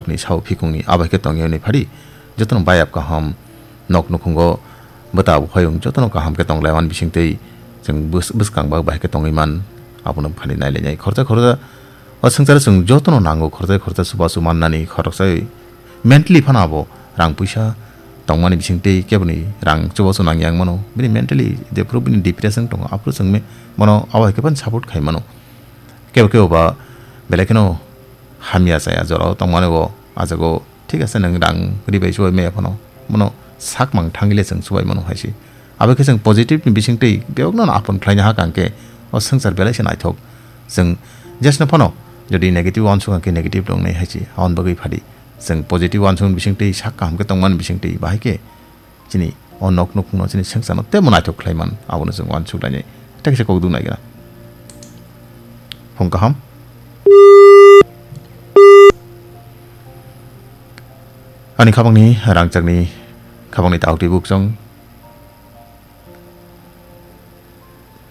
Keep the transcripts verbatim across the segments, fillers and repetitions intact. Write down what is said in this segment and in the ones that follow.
ni sao phikung ni abai khe tong ya ni phari, jotono bayap kaham, nok nukhungo bwta bo phaiyung jotono kaham khe tong lai man bising tei chwng bwskang ba bai khe tongwi man, abono phani nai lai nai khoroksa khoroksa. O swngcharo chwng jotono nango, khoroksa khoroksa chubachu mannani, khoroksa mentally phano abo rang puisa tongmani bising tei keboni rang chubachu nang yang mano, bini mentally jephuru bini depression tongo, aphuru chwng me-, bono abo hai khe phano support khai mano. Kebo kebo ba belai kheno hamya chaya jorao tongmani bo, ah jago thik ase, nwng rang ri bai chubai maya phano, bono sak mang thangwi le chwng chubai mano hai se. Abo khe chwng positive ni bising twi bebakno no apon khlaina ha kang khe o swngchar belai se naithok. Chwng jesno phano jodi negative uansuk khe negative tongnai hai se, aboni bagwi phadi chwng positive uansuk bising twi sak kaham khe tongmani bising twi bahai khe chini o nok nukhungno chini swngcharno teibo naithok khlai man, abono chwng uansuk lainai. Tei kaisa kok duk nai gana. Phung kaham. Ani khabangni rangchakni khabangni taktwi bukchong.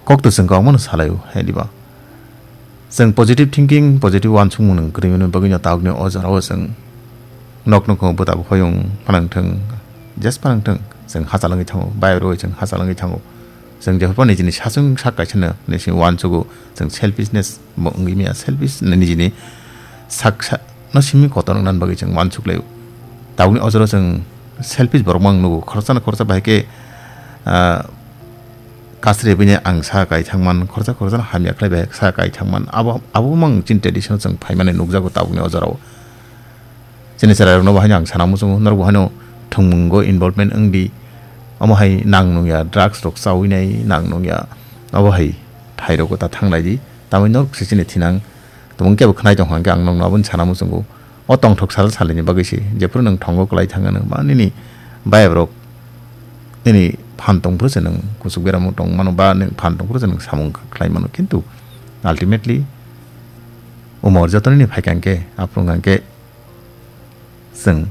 Kok to chwng kok mano salai o, hai diba? Chwng positive thinking, positive uansukmung nwng kwrwi mani bagwi no tabukni o jorao chwng nok nukhung bwta buphayung phanang thwng, just phanang thwng, chwng hachal wngwi thango, bai rwi chwng hachal wngwi thango. Chwng jephru nijini sachwng sak kaisa no nisi uansugo, chwng selfishness bo wngwi maya, selfish nijini sak sa no simi kotor wngna bagwi chwng uansuk laio. Tabukni o jorao chwng selfish borok mang nugo, khoroksa no khoroksa bahai khe, ah, kasri bini ang sa kai thangman, khoroksa khoroksa no hamya khlai bai sa kai thangman. Abo, abo mang chini tradition chwng phaimani nukjago tabukni o jorao. Chini chwrairokno bo haino ang sana muchungo, norok bo haino thwngmungo involvement wng di. Omo hai nang nungya drugs rok chaui nai, nang nungya obo hai thairok ta thang lai di. Tamoni norok se chini thinang tongmung kebo khnai tong kha hwnkhe ang nokno aboni sana muchungo. O tongthok sal salini bagwi se, jephuru nwng thongo kwlai thang ano, ba nini bayap rok nini phan tong phuru se nwng kuchuk beramo tong mano, ba nwng phan tong phuru se nwng samung khlai mano, kintu ultimately umor joto nini phai kha hwnkhe, aphuru hwnkhe chwng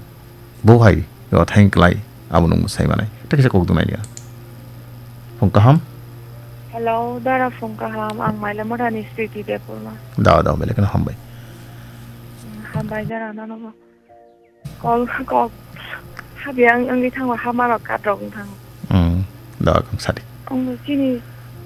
bo hai o thaing kwlai abo nwng sai manai. Tei kaisa kok dungnaini. Phung kaham. Hello, dara phung kaham, ang Mailamorani Sriti Debbarma. Da, da, belai kheno hambai. Hambai dara, nono bo. Kol, kok, habi ang wngwi thango, hamarok katrok wng thango. Hmm, da, kang sadi. Ang chini,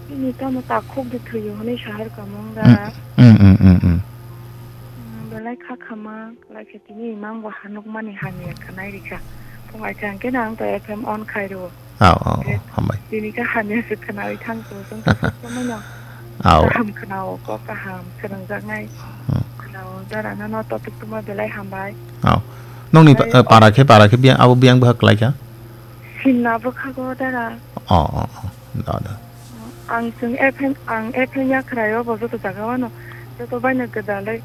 chini tamo takhuk de thwiyo hwnwi sahar kamung da. Hmm, hmm, hmm, hmm, hmm. Hmm, belai kha khama, belai khe tini imang bo hanukmani hamya khanai rikha. Phung ai chang khe nang to F M on khai rwo. Aw, aw, aw, hambai. Tini kha hamya se khnawi thang to, chwng to sob somoi no. Aw. Kaham khnao, kok kaham, swrwngjaknai. Hmm. Khnao, dara no, no topic tuma belai hambai. Aw. Nongni pa-, eh, para khe, para khe biyang, abo biyang bwkha kwlai kha? Sinna bwkha go dara. Aw, aw, aw. Da, da. Ang chwng F M, ang F M yakhrai o bo joto jaga o no, joto bai no gwdalwi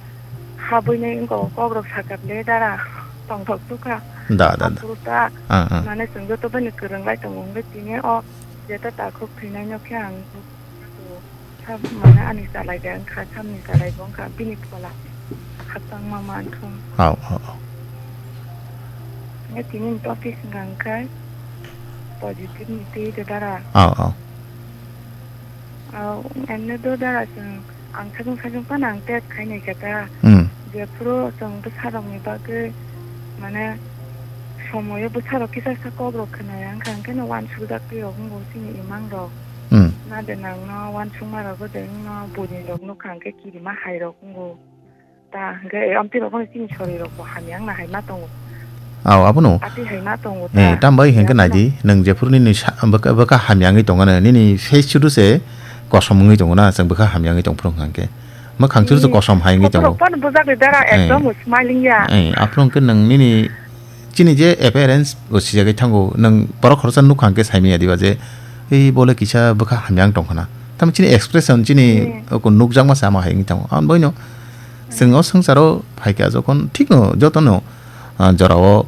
habwi nai wngkha o kok rok sakha le dara tongthok sukha. Da, da, da. Aphuru ta, ah, ah, mane chwng joto bai no kwrwng lai tongo wngwi tini o jeta takhuk thwinai no khe ang sa mane ani chalai de wngkha, samni chalai bo wngkha bini phola khakchangma manthung. Aw, aw, aw. Nge tini ni topic wngkha khe positive ni twi de dara. Aw, aw. Aw, emne do dara chwng, ang sajwng sajwng phano ang test khainai khe ta. Hmm. Jephuru chwng bwsarokni bagwi, mane, somoyo bwsarok kisa sa kokrok khwnaya, wngkha hwnkhe no uansukjak twi rok wngo chini imangrok. Hmm. Na de nangno uansukma rok de wngno buini rok nukha hwnkhe kirima hai rok wngo. Ta hwnkhe, eh, amtwi rok phano chini sori rok bo hamya wngna hai ma tongo. Aw, abono. Atwi hai ma tongo ta. Eh, tambai hwnkhe nai di, nwng jephuru nini sa-, bwkha, bwkha hamya wngwi tongo na, nini face chudu se kosom wngwi tongo na, chwng bwkha hamya wngwi tong phuru hwnkhe. Mwkhang chudu se kosom hai wngwi tongo. Kotorok phano bujak de dara, eh, ekdom smiling ya. Eh, aphuru hwnkhe nwng nini chini je appearance bo sijagwi thango, nwng borok khoroksa nukha hwnkhe saimanya diba je, ei bole kisa bwkha hamya wng tong khna. Tamo chini expression, chini, hmm, oko nukjakma sama hai wngwi tongo. Aboni bagwino chwng o swngcharo phaikha jokhon thikno jotono, ah, jorao,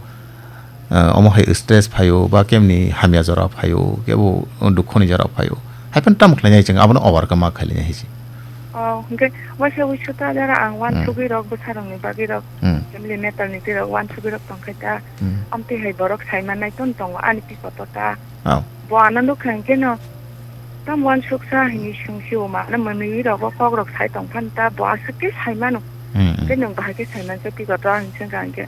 ah, omo hai stress phaio ba kemni hamya jora phaio, kebo dukhoni jora phaio. Haiphano tamo khlainai chwng abono overcome ma khlainai hai se. Oh, hwnkhe waisa wuisu ta jara ang, hmm, uansugwi rok bwsarokni bagwi rok, hmm, family matter ni twi rok uansugwi rok tongkhe ta. Hmm. Amtwi hai borok sai mannai ton tongo ani twi kotor ta. Oh. Bo ano nukha hwnkhe no, tamo uansuksa hinwi swngsio ma, ano mwnwi rogo kok rok sai tong phano ta, bo aswk khe sai mano. Hmm, hmm. Hwnkhe nwng bahai khe sai mankhe twi kotor hinwi swngkha hwnkhe.